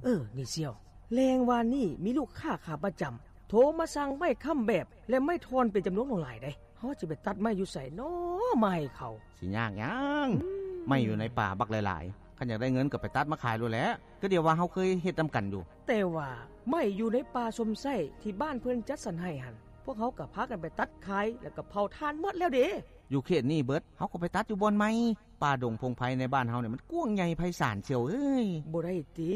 ເອີ ນີ້ສ່ຽວ, ແລງວານນີ້ມີລູກຄ້າຂາປະຈຳໂທມາສັ່ງໄມ້ຄ້ຳແບບ ແລະ ໄມ້ທ່ອນເປັນຈຳນວນຫຼວງຫຼາຍເດ້. ເຮົາຈະໄປຕັດໄມ້ຢູ່ໃສນໍ ມາໃຫ້ເຂົາ? ຊິຍາກຫຍັງ? ອືມ ໄມ້ຢູ່ໃນປ່າບັກຫຼາຍໆ, ຄັນຢາກໄດ້ເງິນກໍໄປຕັດມາຂາຍໂລດແຫຼະ. ກໍດຽວວ່າເຮົາເຄີຍເຮັດນຳກັນຢູ່. ແຕ່ວ່າໄມ້ຢູ່ໃນປ່າຊົມໄຊທີ່ບ້ານເພິ່ນຈັດສັນໃຫ້ຫັ້ນ, ພວກເຮົາກໍພາກັນໄປຕັດຂາຍ ແລ້ວກໍເຜົາຖ່ານໝົດແລ້ວເດ້. ຢູ່ເຂດນີ້ເບິດ, ເຮົາກໍໄປຕັດຢູ່ບ່ອນໃໝ່. ປ່າດົງພົງໄພໃນບ້ານເຮົານີ້ມັນກວ້າງໃຫຍ່ໄພສານສ່ຽວເອີຍ. ບໍ່ໄດ້ຕິ,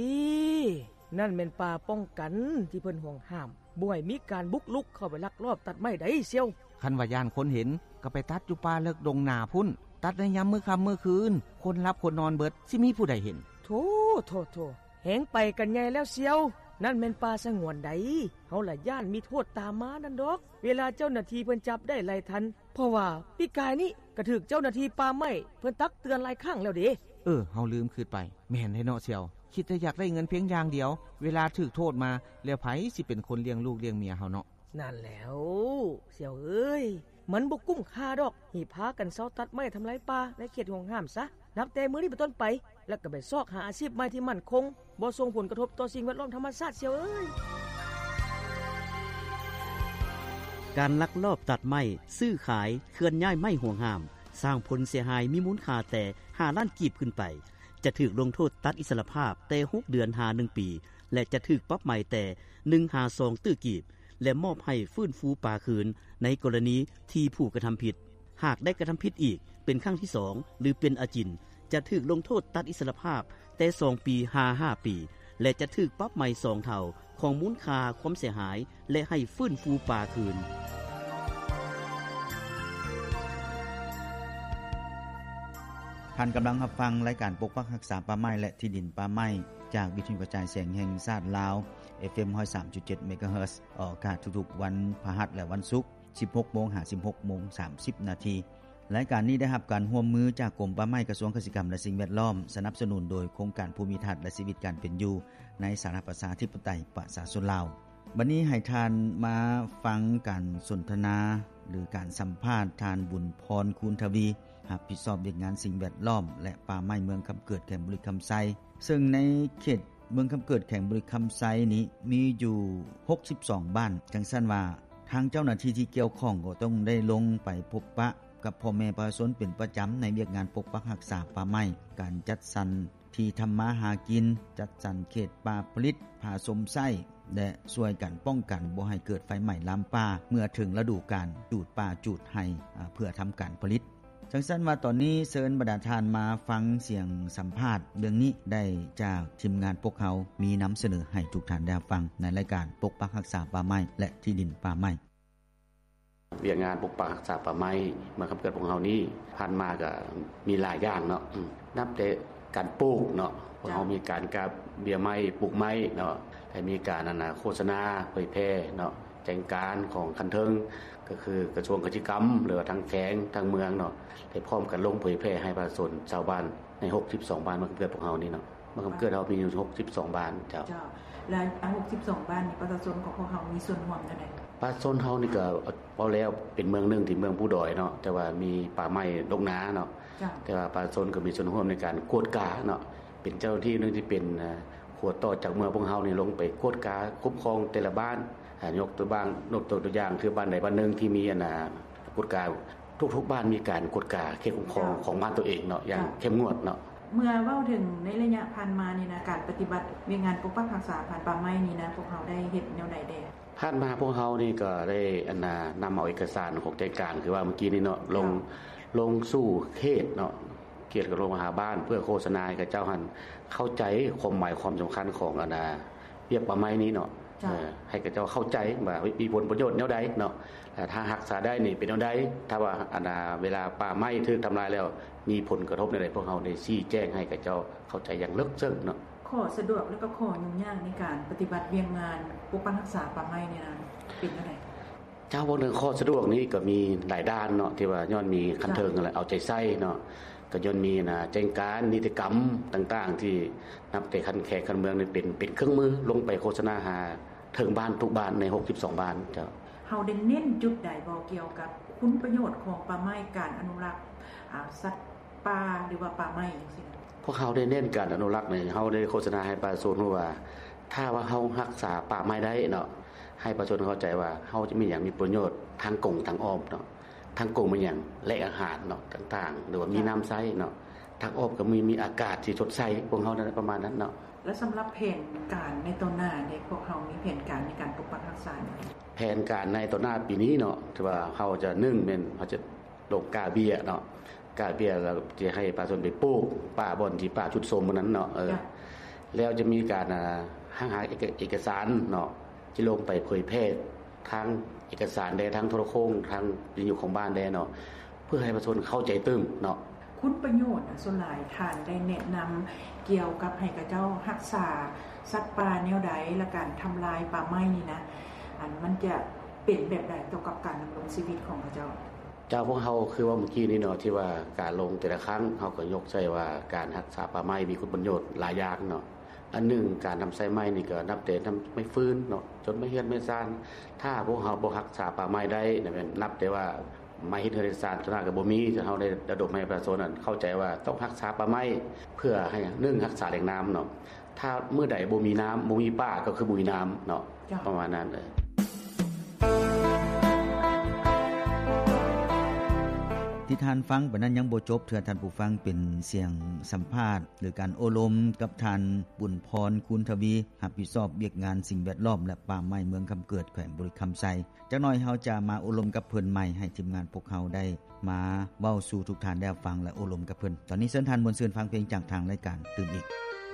ນັ້ນແມ່ນປ່າປ້ອງກັນທີ່ເພິ່ນຫວງຫ້າມ, ບໍ່ໃຫ້ມີການບຸກລຸກເຂົ້າໄປລັກລອບຕັດໄມ້ໃດສ່ຽວ. ຄັນວ່າຢ້ານຄົນເຫັນ, ກໍໄປຕັດຢູ່ປ່າເລິກດົງໜາພຸ້ນ, ຕັດໃນຍາມມື້ຄ່ຳມື້ຄືນ, ຄົນຫຼັບຄົນນອນເບິດ, ຊິມີຜູ້ໃດເຫັນ? ໂທ້, ໂທ້, ໂທ້, ແຮງໄປກັນໃຫຍ່ແລ້ວສ່ຽວ. ນັ້ນແມ່ນປ່າສະຫງວນໃດ, ເຮົາລະຢ້ານມີໂທດຕາມມານັ້ນດອກ, ເວລາເຈົ້າໜ້າທີ່ເພິ່ນຈັບໄດ້ໄລ່ທັນ. ເພາະວ່າປີກາຍນີ້ກໍຖືກເຈົ້າໜ້າທີ່ປ່າໄມ້ເພິ່ນຕັກເຕືອນຫຼາຍຄັ້ງແລ້ວເດ້. ເອີ, ເຮົາລືມຄິດໄປ. ແມ່ນແທ້ເນາະສ່ຽວ, ຄິດແຕ່ຢາກໄດ້ເງິນພຽງຢ່າງດຽວ, ເວລາຖືກໂທດມາແລ້ວ ໃຜຊິເປັນຄົນລ້ຽງລູກລ້ຽງເມຍເຮົາເນາະ? ນັ້ນແຫຼ້ວສ່ຽວເອີຍ, ມັນບໍ່ກຸ້ມຄ່າດອກທີ່ພາກັນເຊົາຕັດໄມ້ທຳລາຍປ່າໃນເຂດຫວງຫ້າມຊະ. ນັບແຕ່ມື້ນີ້ເປັນຕົ້ນໄປ, ແລ້ວກໍໄປຊອກຫາອາຊີບໃໝ່ທີ່ໝັ້ນຄົງ, ບໍ່ສົ່ງຜົນກະທົບຕໍ່ສິ່ງແວດລ້ອມທຳມະຊາດສ່ຽວເອີຍ. ການລັກລອບຕັດໄມ້, ຊື້ຂາຍ, ເຄື່ອນຍ້າຍໄມ້ຫວງຫ້າມ, ສ້າງຜົນເສຍຫາຍມີມູນຄ່າແຕ່ຫ້າລ້ານກີບຂຶ້ນໄປ, ຈະຖືກລົງໂທດຕັດອິດສະຫຼະພາບແຕ່ຫົກເດືອນຫາໜຶ່ງປີ ແລະ ຈະຖືກປັບໃໝແຕ່ໜຶ່ງຫາສອງຕື້ກີບ ແລະ ມອບໃຫ້ຟື້ນຟູປ່າຄືນໃນກໍລະນີທີ່ຜູ້ກະທຳຜິດ ຫາກໄດ້ກະທຳຜິດອີກເປັນຄັ້ງທີສອງ ຫຼື ເປັນອາຈິນ ຈະຖືກລົງໂທດຕັດອິດສະຫຼະພາບແຕ່ສອງປີຫາຫ້າປີ ແລະ ຈະຖືກປັບໃໝສອງເທົ່າຂອງມູນຄ່າຄວາມເສຍຫາຍ ແລະ ໃຫ້ຟື້ນຟູປ່າຄືນ. ທ່ານກຳລັງຮັບຟັງລາຍການປົກປັກຮັກສາປ່າໄມ້ ແລະ ທີ່ດິນປ່າໄມ້ ຈາກວິທະຍຸກະຈາຍສຽງແຫ່ງຊາດລາວ ເອັຟເອັມ ຮ້ອຍສາມຈຸດເຈັດ ເມກາເຮີດ ອອກອາກາດທຸກໆວັນພະຫັດ ແລະ ວັນສຸກ ສິບຫົກໂມງຫາສິບຫົກໂມງສາມສິບນາທີ. ລາຍການນີ້ໄດ້ຮັບການຮ່ວມມືຈາກກົມປ່າໄມ້ ກະຊວງກະສິກຳ ແລະ ສິ່ງແວດລ້ອມ, ສະໜັບສະໜູນໂດຍໂຄງການພູມິທັດ ແລະ ຊີວິດການເປັນຢູ່ໃນສາທາລະນະລັດ ປະຊາທິປະໄຕ ປະຊາຊົນລາວ. ບັດນີ້ໃຫ້ທ່ານມາຟັງການສົນທະນາ ຫຼື ການສຳພາດທ່ານ ບຸນພອນ ຄູນທະວີ ຮັບຜິດຊອບວຽກງານສິ່ງແວດລ້ອມ ແລະ ປ່າໄມ້ເມືອງຄຳເກີດ ແຂວງບໍລິຄຳໄຊ. ເຊິ່ງໃນເຂດເມືອງຄຳເກີດ ແຂວງບໍລິຄຳໄຊນີ້ມີຢູ່ຫົກສິບສອງບ້ານ. ຈັ່ງຊັ້ນວ່າ ທາງເຈົ້າໜ້າທີ່ທີ່ກ່ຽວຂ້ອງກໍຕ້ອງໄດ້ລົງໄປພົບປະກັບພໍ່ແມ່ປະຊາຊົນເປັນປະຈຳໃນວຽກງານປົກປັກຮັກສາປ່າໄມ້, ການຈັດສັນ ທີ່ທຳມາຫາກິນ, ຈັດສັນເຂດປ່າຜະລິດ, ຜາຊົມໄຊ ແລະ ຊ່ວຍກັນປ້ອງກັນບໍ່ໃຫ້ເກີດໄຟໄໝ້ລາມປ່າເມື່ອເຖິງລະດູການຈູດປ່າຈູດໄຮ່ ອາ ເພື່ອທຳການຜະລິດ. ຈັ່ງຊັ້ນວ່າຕອນນີ້ເຊີນບັນດາທ່ານມາຟັງສຽງສຳພາດເລື່ອງນີ້ໄດ້ຈາກທີມງານພວກເຮົາ ມີນຳສະເໜີໃຫ້ທຸກທ່ານໄດ້ຮັບຟັງໃນລາຍການປົກປັກຮັກສາປ່າໄມ້ ແລະ ທີ່ດິນປ່າໄມ້. ວຽກງານປົກປັກຮັກສາປ່າໄມ້ເມືອງຄຳເກີດພວກເຮົານີ້ ຜ່ານມາກໍມີຫຼາຍຢ່າງເນາະ ອືມ ນັບແຕ່ການປູກເນາະ ພວກເຮົາມີການກາເບ້ຍໄມ້ ປູກໄມ້ເນາະ ແລະ ມີການ ອັນນ່າ ໂຄສະນາເຜີຍແຜ່ເນາະ ແຈ້ງການຂອງຂັ້ນເທິງ ກໍຄືກະຊວງກະສິກຳ ຫຼືວ່າທາງແຂວງ ທາງເມືອງເນາະ ໄດ້ພ້ອມກັນລົງເຜີຍແຜ່ໃຫ້ປະຊາຊົນຊາວບ້ານໃນຫົກສິບສອງບ້ານເມືອງຄຳເກີດພວກເຮົານີ້ເນາະ. ເມືອງຄຳເກີດເຮົາມີຢູ່ຫົກສິບສອງບ້ານ ເຈົ້າ. ເຈົ້າ ແລ້ວ ອາ ຫົກສິບສອງບ້ານນີ້ ປະຊາຊົນຂອງພວກເຮົາມີສ່ວນຮ່ວມແນວໃດ? ປະຊາຊົນເຮົານີ້ກໍເວົ້າແລ້ວເປັນເມືອງໜຶ່ງທີ່ເມືອງພູດອຍເນາະ ແຕ່ວ່າມີປ່າໄມ້ລົກໜາເນາະ ເຈົ້າ. ແຕ່ວ່າປະຊາຊົນກໍມີສ່ວນຮ່ວມໃນການກວດກາເນາະ ເປັນເຈົ້າໜ້າທີ່ໜຶ່ງທີ່ເປັນ ເອີ ຂົວຕໍ່ຈາກເມືອງພວກເຮົານີ້ລົງໄປກວດກາຄຸ້ມຄອຍົກຕົວຢ່າງ ຍົກຕົວຢ່າງ ຍົກຕົວຢ່າງຄືບ້ານໃດບ້ານໜຶ່ງທີ່ມີ ອັນນ່າ ກວດກາ ທຸກໆບ້ານມີການກວດກາເຂດຄຸ້ມຄອງ ເຈົ້າ ຂອງບ້ານຕົວເອງເນາະ ຢ່າງ ເຈົ້າ ເຂັ້ມງວດເນາະ. ເມື່ອເວົ້າເຖິງໃນໄລຍະຜ່ານມານີ້ນະ ການປະຕິບັດວຽກງານປົກປັກຮັກສາພັນປ່າໄມ້ນີ້ນະ ພວກເຮົາໄດ້ເຮັດແນວໃດແດ່? ຜ່ານມາພວກເຮົານີ້ກໍໄດ້ ອັນນ່າ ນຳເອົາເອກະສານຂອງແຈ້ງການ ຄືວ່າເມື່ອກີ້ນີ້ເນາະ ລົງ ເຈົ້າ ລົງສູ່ເຂດເນາະ ເຂດກໍລົງມາຫາບ້ານ ເພື່ອໂຄສະນາໃຫ້ເຂົາເຈົ້າຫັ້ນເຂົ້າໃຈຄວາມໝາຍຄວາມສຳຄັນຂອງ ອັນນ່າ ວຽກປ່າໄມ້ນີ້ເນາະ ເຈົ້າ ເອີ ໃຫ້ເຂົາເຈົ້າເຂົ້າໃຈວ່າມີຜົນປະໂຫຍດແນວໃດເນາະ ແລະ ຖ້າຮັກສາໄດ້ນີ້ເປັນແນວໃດ ຖ້າວ່າ ອັນນ່າ ເວລາປ່າໄມ້ຖືກທຳລາຍແລ້ວ ມີຜົນກະທົບແນວໃດ ພວກເຮົາໄດ້ຊີ້ແຈງໃຫ້ເຂົາເຈົ້າເຂົ້າໃຈຢ່າງເລິກເຊິ່ງເນາະ. ຂໍ້ສະດວກ ແລະ ກໍຂໍ້ຫຍຸ້ງຍາກໃນການປະຕິບັດວຽກງານປົກປັກຮັກສາປ່າໄມ້ນີ້ນະ ເປັນແນວໃດ? ເຈົ້າ ເວົ້າເລື່ອງຂໍ້ສະດວກນີ້ກໍມີຫຼາຍດ້ານເນາະ ທີ່ວ່າຍ້ອນມີຂັ້ນເທິງ ເຈົ້າ ແລະ ເອົາໃຈໃສ່ເນາະ ກໍຍ້ອນມີ ນະ ແຈ້ງການ ນິຕິກຳຕ່າງໆ ທີ່ນັບແຕ່ຂັ້ນແຂວງຂັ້ນເມືອງນີ້ເປັນ ເປັນເຄື່ອງມືລົງໄປໂຄສະນາຫາເຖິງບ້ານທຸກບ້ານໃນຫົກສິບສອງບ້ານ ເຈົ້າ. ເຮົາໄດ້ເນັ້ນຈຸດໃດບໍ່ ກ່ຽວກັບຄຸນປະໂຫຍດຂອງປ່າໄມ້ ການອະນຸລັກ ອາ ສັດປ່າ ຫຼືວ່າປ່າໄມ້ຈັ່ງຊີ້? ພວກເຮົາໄດ້ເນັ້ນການອະນຸລັກນີ້ ເຮົາໄດ້ໂຄສະນາໃຫ້ປະຊາຊົນຮູ້ວ່າ ຖ້າວ່າເຮົາຮັກສາປ່າໄມ້ໄດ້ເນາະ ໃຫ້ປະຊາຊົນເຂົ້າໃຈວ່າເຮົາຈະມີຫຍັງມີປະໂຫຍດທາງກົງທາງອ້ອມເນາະ. ທາງກົງມີຫຍັງ? ແຫຼ່ງອາຫານເນາະ ຕ່າງໆ ຫຼືວ່າມີ ເຈົ້າ ນ້ຳໃຊ້ເນາະ. ທາງອ້ອມກໍມີ ມີອາກາດທີ່ສົດໃສ ພວກເຮົານັ້ນປະມານນັ້ນເນາະ. ແລ້ວສຳລັບແຜນການໃນຕໍ່ໜ້າເດ ພວກເຮົາມີແຜນການໃນການປົກປັກຮັກສາຫຍັງ? ແຜນການໃນຕໍ່ໜ້າປີນີ້ເນາະ ຖືວ່າເຮົາຈະ ໜຶ່ງແມ່ນເຮົາຈະລົງກ້າເບ້ຍເນາະ ກ້າເບ້ຍແລ້ວຈະໃຫ້ປະຊາຊົນໄປປູກປ່າບ່ອນທີ່ປ່າຊຸດໂຊມໝົດນັ້ນເນາະ. ເອີ ເຈົ້າ ແລ້ວຈະມີການ ອ່າ ຫາ ຫາເອກະ ເອກະສານເນາະ ຈະລົງໄປເຜີຍແຜ່ທາງເອກະສານແດ່ ທາງໂທລະໂຄ່ງ ທາງວິທະຍຸຂອງບ້ານແດ່ເນາະ ເພື່ອໃຫ້ປະຊາຊົນເຂົ້າໃຈຕື່ມເນາະ. ຄຸນປະໂຫຍດນະ ສ່ວນຫຼາຍທ່ານໄດ້ແນະນຳກ່ຽວກັບໃຫ້ເຂົາເຈົ້າຮັກສາສັດປ່າແນວໃດ ແລະ ການທຳລາຍປ່າໄມ້ນີ້ນະ ອັນ ມັນຈະເປັນແບບໃດຕໍ່ກັບການດຳລົງຊີວິດຂອງເຂົາເຈົ້າ? ເຈົ້າ ພວກເຮົາຄືເວົ້າມື້ກີ້ນີ້ເນາະ ທີ່ວ່າການລົງແຕ່ລະຄັ້ງ ເຮົາກໍຍົກໃສ່ວ່າການຮັກສາປ່າໄມ້ມີຄຸນປະໂຫຍດຫຼາຍຢ່າງເນາະ. ອັນໜຶ່ງ ການນຳໃຊ້ໄມ້ນີ້ກໍນັບແຕ່ນຳໄມ້ຟືນເນາະ ຈົນໄມ້ເຮືອນໄມ້ຊານ. ຖ້າພວກເຮົາບໍ່ຮັກສາປ່າໄມ້ໄດ້ນະ ແມ່ນນັບແຕ່ວ່າໄມ້ເຮັດເຮືອນເຮັດຊານ ສ່ວນຫຼາຍກໍບໍ່ມີ. ເຮົາໄດ້ລະດົມໃຫ້ປະຊາຊົນນັ້ນເຂົ້າໃຈວ່າຕ້ອງຮັກສາປ່າໄມ້ ເພື່ອໃຫ້ ໜຶ່ງ ຮັກສາແຫຼ່ງນ້ຳເນາະ. ຖ້າມື້ໃດບໍ່ມີນ້ຳ ບໍ່ມີປ່າ ກໍຄືບໍ່ມີນ້ຳເນາະ. ເຈົ້າ ປະມານນັ້ນເລີຍ. ທີ່ທ່ານຟັງໄປນັ້ນຍັງບໍ່ຈົບເທື່ອທ່ານຜູ້ຟັງ ເປັນສຽງສຳພາດ ຫຼື ການໂອ້ລົມກັບທ່ານ ບຸນພອນ ຄູນທະວີ ຮັບຜິດຊອບວຽກງານສິ່ງແວດລ້ອມ ແລະ ປ່າໄມ້ ເມືອງຄຳເກີດ ແຂວງບໍລິຄຳໄຊ. ຈັກໜ້ອຍເຮົາຈະມາໂອ້ລົມກັບເພິ່ນໃໝ່ ໃຫ້ທີມງານພວກເຮົາໄດ້ມາເວົ້າສູ່ທຸກທ່ານໄດ້ຮັບຟັງ ແລະ ໂອ້ລົມກັບເພິ່ນ. ຕອນນີ້ເຊີນທ່ານມ່ວນຊື່ນຟັງເພງຈາກທາງລາຍການຕື່ມອີກ.